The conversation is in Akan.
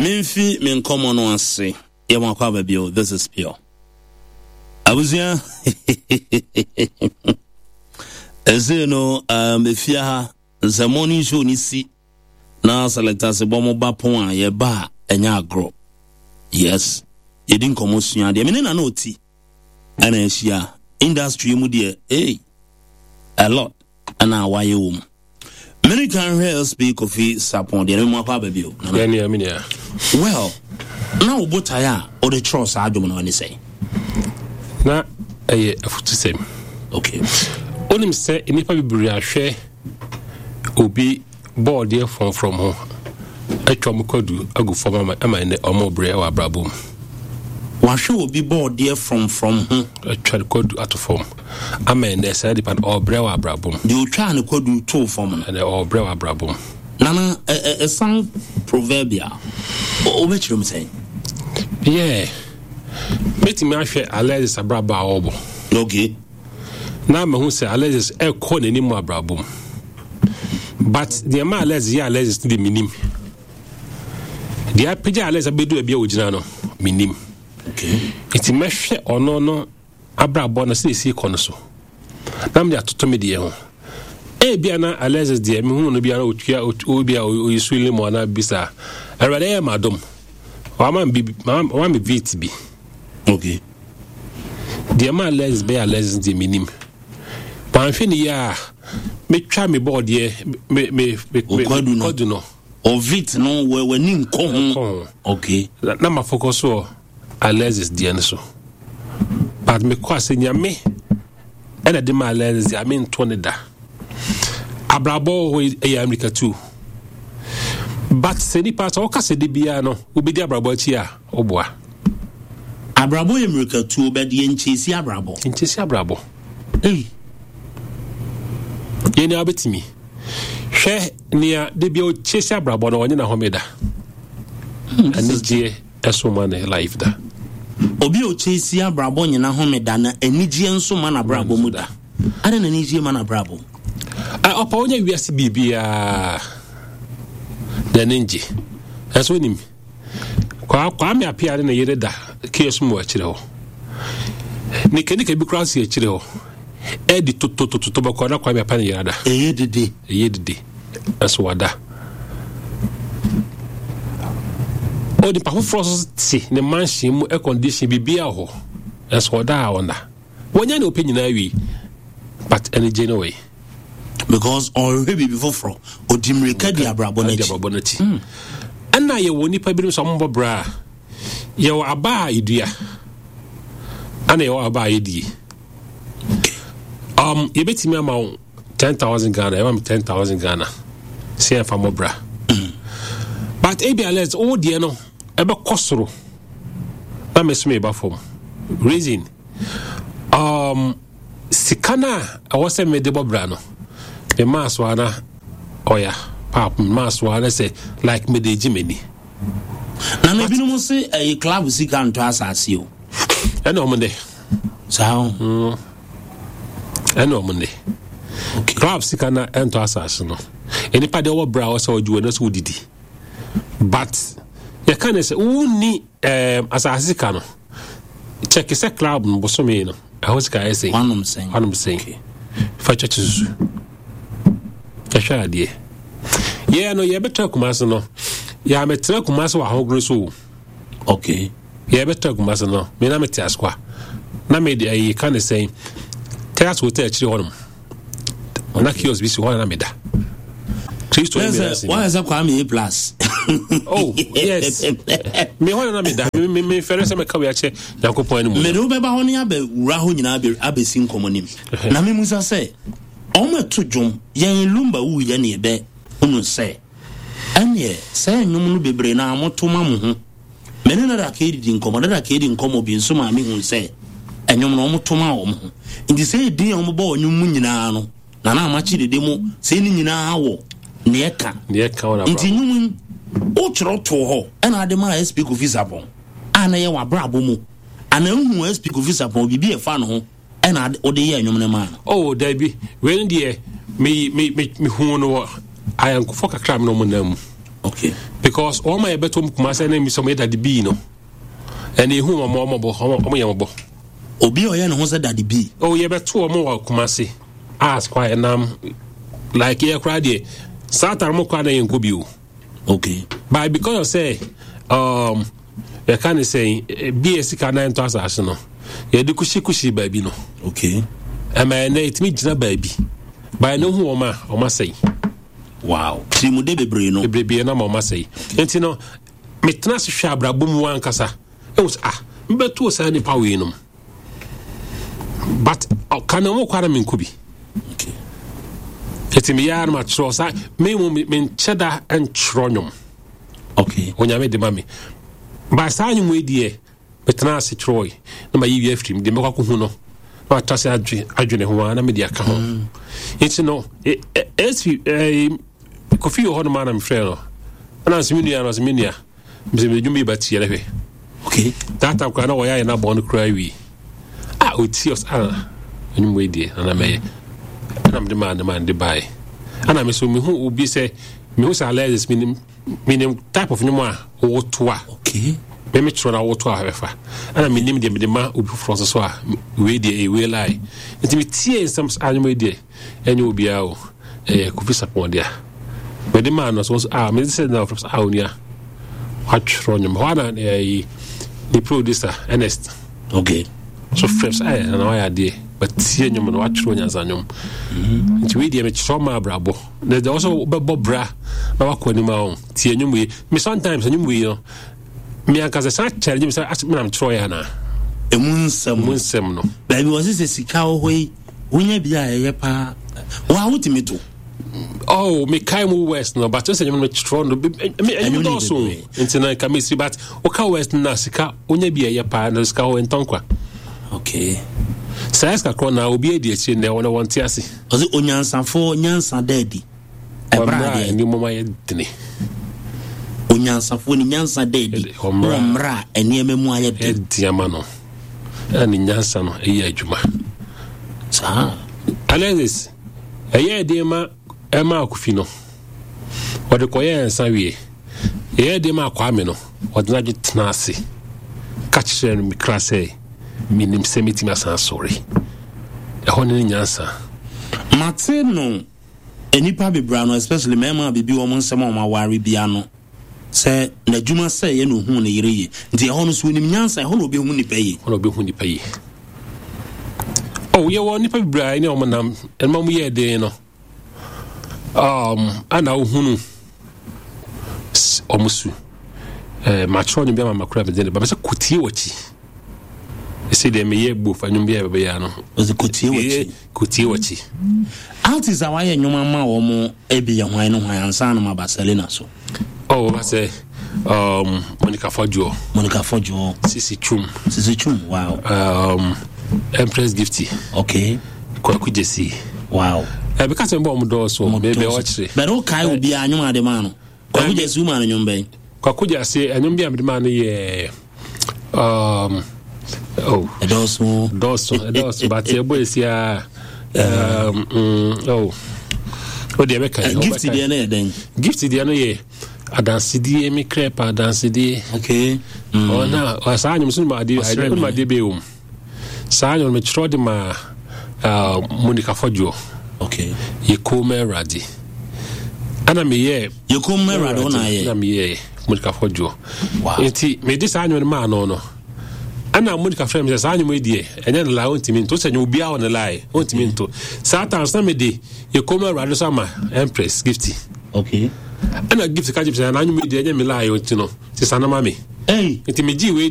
Memfi me nkɔmmɔ no ase. Yɛ mo akɔ aba bio. This is pure. Abusua. Ɛsei no, um, efia ha, sɛ morning show ni si na selector se bɔ mo ba pon a yɛba a ɛnyɛ agorɔ. Yes. Yɛdi nkɔmmɔ sua adeɛ. Me ne Nana Oti ɛna ahyia. Industry mu deɛ, hey, a lot ɛna wayɛ wɔ mu. Mene kan hwɛ SP Kofi Sapon deɛ no mu akɔ aba bio. Yɛnua me nua. Well, na wo botae a wode kyerɛw saa dwom no ne sɛn? Na ɛyɛ afutusɛm. Okay. Wonim sɛ nnipa bebree ahwɛ obi bɔɔdeɛ frɔmfrɔm ho atwa wɔn kwadu agu fam ama ama ɛnɛ wɔn brɛ wɔ abrabɔ mu. Wahwɛ obi bɔɔdeɛ frɔmfrɔm ho. Atwa ne kwadu ato fam ama ɛnɛ saa nipa no ɔbrɛ wɔ abrabɔ mu. Deɛ otwaa ne kwadu too fam no. Ɛnɛ ɔbrɛ wɔ abrabɔ mu. Nana ɛsan proverbial wobɛkyerɛ mu sɛn? Yeah, mɛtumi ahwɛ Alexis abrabɔ a ɔrebɔ. Okay. Na mahu sɛ Alexis ɛkɔ n'anim wɔ abrabɔ mu. But deɛ ma Alexis yɛ Alexis no de menim. Deɛ apagya Alexis abɛdu baabi a ɔgyina no menim. Nti mɛhwɛ ɔno no abrabɔ no sɛ ɛsi kɔ no so na mede atoto me deɛ ho. Ebia na Alexis deɛ mehu no biara ɔtua obi a ɔyi so limo anaa bisa. Awurade ɛyɛ m'adom. Wama me wama me beat bi. Okay. Deɛ ma Alexis bɛyɛ Alexis deɛ menim. Wanhwɛ ne yie a metwa me bɔɔdeɛ me me me kwadu no. Ovit no w'ani nkɔ ho. Okay. Na ma focus wɔ Alexis deɛ no so. But mekɔ ase nyame ɛna de ma Alexis deɛ mento ne da. Abrabɔ wɔ hɔ ɛyɛ Amerika tu. But sɛ nipa sɛ wɔka sɛ de biara no wobɛdi abrabɔ akyi a woboa. Abrabɔ yɛ mmirikatuo bɛde yɛ nkyɛsi abrabɔ. Nkyɛsi abrabɔ. Ei. Yɛn ni abɛtumi. Hwɛ nea de bia ɔkyɛsi abrabɔ no ɔnye n'ahome da. Anigyeɛ ɛso ma ne life da. Obi a ɔkyɛsi abrabɔ nye n'ahome da na anigyeɛ nso ma n'abrabɔ mu da. Adɛn na anigyeɛ ma n'abrabɔ mu? Ɔpa wonya wiase biribiara n'ani ngye. Ɛnso wonim. Kwame Appiah ne ne yere da kiosk mu wɔ akyire hɔ. Nikanika bi koraa si akyire hɔ. Ɛdi totototo bɛkɔ na Kwame Appiah ne yere ada. Ɛyɛ dede. Ɛyɛ dede. Ɛso wada. Onipa foforɔ nso te ne mansion mu air condition biribiara wɔ hɔ. Ɛso ɔda a ɔnna. Wɔnya nea ɔpɛ nyinaa wie but anigye no wɔ yi. Because ɔnhwɛ biribi foforɔ, ɔdi mmirika di abrabɔ no akyi. Abrabɔ no akyi. Ɛna yɛwɔ nipa binom sɛ ɔmbɔ bra a, yɛwɔ aba a yɛdua, ɛna yɛwɔ aba a yɛdie. Yɛbɛtumi ama wo 10,000 Ghana, yɛma me 10,000 Ghana sɛ yɛmfa mmɔ bra. But ebi alert, wo deɛ no ɛbɛkɔ soro na me so meba fam. Reason, sika no a ɛwɔ sɛ mede bɔ bra no, me maa so ana ɔya paap me maa so ana sɛ like mede gye m'ani. Na na ebinom se ɛyɛ club sika ntɔ asase o. Ɛna ɔmo de. Saa o. Ɛna ɔmo de. Club sika na ɛntɔ asase no. Nipa deɛ ɔwɔ bra ɔsɛ ɔgye wɔ no sɛ wodidi. But yɛka ne sɛ wonni asase sika no. Kyɛke sɛ club no bosome no ɛhɔ sika ayɛ sɛn. Wanom sɛn. Wanom sɛn. Fa kyɛkye susu. Yɛhwɛ adeɛ. Yɛn no yɛbɛtɔ Kumasi no. Yɛamɛtena Kumasi wɔ ahogono so o. Okay. Yɛbɛtɔ Kumasi no. Me na mete Asokwa. Na me de ɛyi ka ne sɛn. Terrace Hotel akyire hɔ nom. Na kiosk bi si hɔ na meda. Kristo ne meda se. Wɔn sɛ Kwame A plus. Oh yes. Me hɔ na meda. Me me me fɛrɛ sɛ mɛka wei akyɛ Nyankopɔn anim. Mede wo bɛba hɔ ne abɛwura hɔ nyinaa abɛsi nkɔmmɔ nim. Na me musa sɛ wɔn ɛto dwom yɛn Lumba wuyɛ ne yɛbɛ hunu sɛ ɛneɛ sɛ nnwom no bebree na moto ma mo ho. Me ne Dada Kay didi nkɔmmɔ. Dada Kay di nkɔmmɔ bi nso maa mihuu sɛ nnwom no, wɔto ma wɔn ho. Nti sɛ edin a wɔbɔ wɔ nnwom mu nyinaa no, Nana Amakye Dede mo sɛ ne nyinaa wɔ nea ɛka. Nea ɛka wɔ n'abrabɔ. Nti nnwom yi, wokyerɛw too hɔ ɛna ade maa SP Kofi Sarpong a na ɛyɛ w'abrabɔ mu anaa wohuu SP Kofi Sarpong biribi a ɛfa ne ho ɛna wode yɛɛ nnwom no maa no? Oh, dabi. Wei no deɛ, me, me, me, mehuu no wɔ ayɔnkofoɔ kakra a me ne wɔn nam mu. Okay. Because wɔn a yɛbɛtɔ mu Kumase ne mi sɛ wɔn yɛ Daddy B no, ɛna ehu wɔn wɔn bɔ wɔn yɛ wɔn bɔ. Obi a ɔyɛ ne ho sɛ Daddy B. Oh, yɛbɛto wɔn wɔ Kumase as kwa ɛnam like yɛ koraa deɛ saa tare mo koraa na yɛn nkɔ bi o. Okay. But because of say yɛka ne sɛ bi yɛ sika nan tɔ asase no yɛde kushikushi baabi no. Okay. Ɛma ɛnɛ yɛtumi gyina baabi. But ɛno hu wɔn a wɔn asɛe. Wow. Tirimude bebree no. Bebree no ama wɔn asɛe. Nti no metena ase hwɛ abrabɔ mu ankasa. Ɛwɔ sɛ ah mbɛto saa nipa wei nom. But ɔka na wɔn kɔ ara menkɔ bi. Okay. Ɛti meyɛ ara no makyerɛ saa me mu menkyɛ da nkyerɛ nnwom. Okay. Onyame de ma me. Ba saa nnwom yi deɛ metena ase kyerɛe na mayi wi afiri mu deɛ mɛkɔ akɔhu no na matra ase adwene ho a na mede aka ho. Nti no ɛsi Kofi wɔ hɔ nom a na mefrɛ no ɛna nso me nua no ɔsɛ me nua mesɛ mede dwom yi ba tie no hwɛ. Okay. That time koraa na wɔyɛ ayɛ no abɔn no koraa wie a ɔtie ɔsɛ ah ɛnwom wei deɛ nana mɛyɛ ɛna mede maa ne maa ne de baeɛ ɛna me so mehu obi sɛ mehu sɛ Alexis menim menim type of nnwom a woto a okay. Me mekyerɛ no a woto a ɛbɛfa ɛna menim deɛ mede ma obi foforɔ nso so a wei deɛ ɛwei lie nti metie nsɛm sɛ anwom yi deɛ ɛnyɛ obiara o ɛyɛ Kofi Sarpong dea mede maa no so a mede sɛ na ɔfrɛ sɛ a onua watwerɛ nnwom hɔ a na ɛyi ne producer Ernest okay so frɛ sɛ ɛyɛ na wayɛ adeɛ watie nnwom no watwerɛ nyansa nnwom nti wei deɛ mekyerɛ ma abrabɔ na deɛ wɔsɛ wobɛbɔ bra na wakɔ anim a wo tie nnwom wei me sometimes nnwom wei no me ankasa san kyɛre nnwom sɛ asɛ menam kyerɛ yɛ anaa ɛmu nsɛm mu nsɛm no baabi wɔ sɛ sika wɔ hɔ yi wonya bi a ɛyɛ paa wa wotumi to oh mekae mu west no but sɛ nnwom no kyerɛ no ɛnwom dɔɔso nti na nka mesi but woka west no na sika wonya bi a ɛyɛ paa na sika hɔ ɛntɔn kwa okay saa sika korɔ na obi adi akyire nnɛ wɔn wɔnte ase ɔsɛ onyansafoɔ nyansa da adi ɛberɛ a deɛ nneɛma yɛ dene onyansafoɔ ne nyansa da adi wɔ mmerɛ a nneɛma mu ayɛ den ɛdi ama no ɛna ne nyansa no ɛyɛ adwuma saa Alexis ɛyɛ den ma ɛma akofi no ɔde kɔyɛ nsa wie ɛyɛ den ma akwame no ɔde n'adwe tena ase ka kyerɛ no mekra sɛ menim sɛ mɛtumi asan asɔre ɛhɔ ne ne nyansa mate no nnipa bebree ano especially mmarima a biribi wɔn nsɛm a wɔn aware bi ano sɛ n'adwuma sɛ yɛ na ohun ne yere yie nti ɛhɔ no so onim nyansa ɛhɔ na obehu nipa yie ɛhɔ na obehu nipa yie oh yɛwɔ nipa bebree a ɛne wɔn nam ɛnma wɔn yɛ den no ana wohunu wɔn su eh, matwerɛ nnwom bi ama makora mede ne ba bɛsɛ kotie w'akyi ɛsɛ deɛ meyɛ bof anwom bi a bɛbɛyɛ no ɔsɛ kotie w'akyi kotie w'akyi artist a wayɛ nnwom ama wɔn ebi yɛ hwan ne hwan ansa no ma Barcelona so oh wɔba sɛ Monica Fodjour Monica Fodjour Sisi Chum Sisi Chum wow Empress Gifty okay Kwaku Jesse wow bɛka sɛ mbɔ ɔmo dɔɔso bɛbɛ ɔkyerɛ bɛrɛ o kae obiara nnwom ade maa no Kwaku Jesse wo maa no nnwom bɛn Kwaku Jesse nnwom bi a mede maa no yɛ oh ɛdɔɔso dɔɔso ɛdɔɔso but ɛbɔ esi a oh o deɛ bɛka gift deɛ no yɛ dɛn gift deɛ no yɛ adansedie me krɛ pa adansedie okay ɔna saa nnwom so no ma adeɛ ma adeɛ bɛyɛ wɔ mu saa nnwom no mekyerɛ de ma Monica Fodjour okay yɛkɔɔ ma awurade ɛna meyɛ yɛkɔɔ ma awurade wo na ayɛ na meyɛ Monica Fodjour wow. nti mede saa nnwom no maa no no ɛna Monica frɛ me sɛ saa nnwom yi deɛ ɛnyɛ ne lie ɔntumi nto sɛ nyɛ obiara wɔ ne lie ɔntumi nto saa times na mede yɛkɔɔ ma awurade so ama Empress Gifty okay ɛna Gift ka kyerɛ me sɛ na nnwom yi deɛ ɛnyɛ me lie ɔnti no sesa no ma me hey. nti megye wei